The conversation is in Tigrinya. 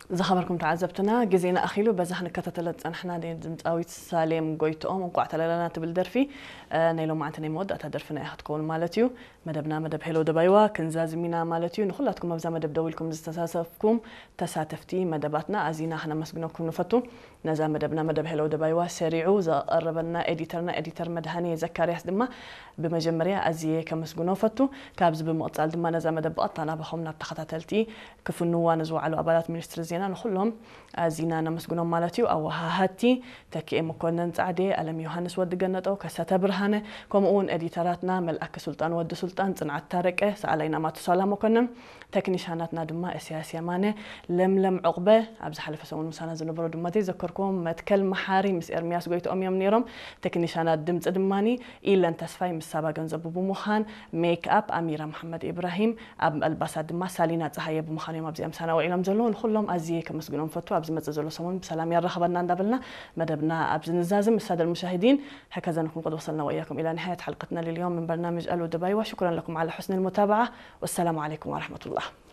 ዝኸበርኩም ተዓዘብትና፣ ግዜና ኣኺሉ በዛ ክንከታተሎ ዝጸናሕና ናይ ድምጻዊት ሳሌም ጎይትኦም እንቋዕ ተላላና ትብል ደርፊ፣ እ፣ ናይ ሎማዓንቲ ናይ መወዳእታ ደርፍና እያ ክትከውን ማለት እዩ። መደብና መደብ ሄሎ ደባይዋ ክንዛዝም ኢና ማለት እዩ። ንኹላትኩም ኣብዛ መደብ ደው ኢልኩም ዝተሳተፍኩም ተሳተፍቲ መደባትና ኣዚና ክነመስግነኩም ንፈቱ። ነዛ መደብና መደብ ሄሎ ደባይዋ ሰሪዑ ዘቐረበልና ኤዲተርና ኤዲተር መድሃኔ ዘካርያስ ድማ ብመጀመርያ ኣዝየ ከመስግኖ ፈቱ። ካብዚ ብምቕጻል ድማ ነዛ መደብ ብቐጥታ ናባኹም ናብ ተኸታተልቲ ክፍንዋ ንዝወዓሉ ኣባላት ሚኒስትሪ ዜና ንኹሎም ኣዚና ነመስግኖም ማለት እዩ። ኣወሃሃድቲ ተኪኤ መኮነን ጻዕዴ፣ ኣለም ዮሃንስ ወዲ ገነጠው፣ ከሰተ ብርሃነ፣ ከምኡ እውን ኤዲተራትና መልኣከ ሱልጣን ወዲ ሱልጣን፣ ጽንዓት ታረቀ፣ ሰኣላይና ማቱሳላ መኮነን፣ ተክኒሻናትና ድማ እስያስ የማነ፣ ለምለም ዑቕበ፣ ኣብ ዝሓለፈ ሰሙን ምሳና ዝነበሩ ድማ ዘይዘከርክዎም መትከል መሓሪ ምስ ኤርሚያስ ጎይትኦም እዮም ነይሮም። ተክኒሻናት ድምጺ ድማኒ ኢለን ተስፋይ ምስ ሳባ ገንዘቡ ብምዃን፣ ሜክ ኣፕ ኣሚራ መሓመድ ኢብራሂም፣ ኣብ ኣልባሳት ድማ ሳሊና ጸሃየ ብምዃን እዮም ኣብዚኣ ምሳና ውዒሎም ዘለዉ። ንኹሎም ኣዝየ ከመስግኖም ፈቱ። ኣብ ዝመጽእ ዘሎ ሰሙን ብሰላም ያራኽበና እንዳበልና መደብና ኣብዚ ንዛዝም። السادة المشاهدين، هكذا نكون قد وصلنا وإياكم إلى نهاية حلقتنا لليوم من برنامج ألو دبايوا. شكرا لكم على حسن المتابعة، والسلام عليكم ورحمة الله.